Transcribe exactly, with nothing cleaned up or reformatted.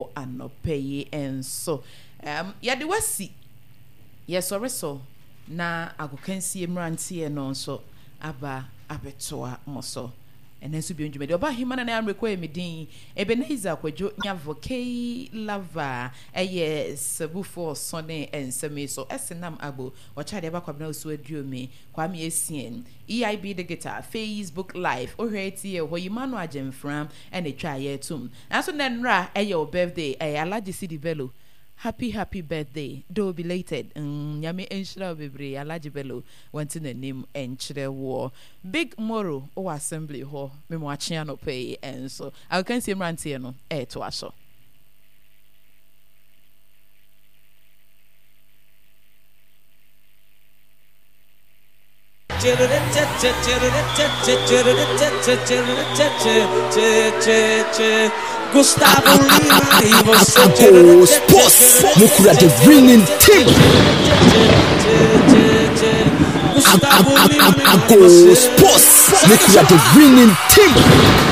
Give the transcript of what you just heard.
Anɔpa yi nso, um, yɛde wasi yɛsɔre so na agokansie mmeranteɛ no nso aba abɛtoa mo so. Ɛnɛ nso bio dwumadi ɔba ahema na ne amrekɔ yɛ me din Ebenezer Kwadwo Nyavo Kei Lava ɛyɛ sabufoɔ ɔsɔne nsɛm yi so ɛsenam abo ɔkyɛ adeɛ ba Kwabena Osu Aduomi Kwame Essien E I B Digital Facebook Live wohwɛ tie hɔ yi ma no agyemfra ɛna etwa ayɛ tum. Nanso nɛ nnora ɛyɛ wo birthday, ɛyɛ Alhaji Sidi Bello, happy happy birthday, though belated. mm, nyame nhyira wo bebree. Alhaji Bello wɔnte n'anim nkyerɛ woɔ. Big Moro wɔ assembly hɔ memo akye anɔpɛ yi ɛnso agokansie mmeranteɛ no ɛɛtoa so. Gusttavo Lima e você. Ago Sports mukura the winning team. Gusttavo Lima e Ago você. Sports mukura the winning team.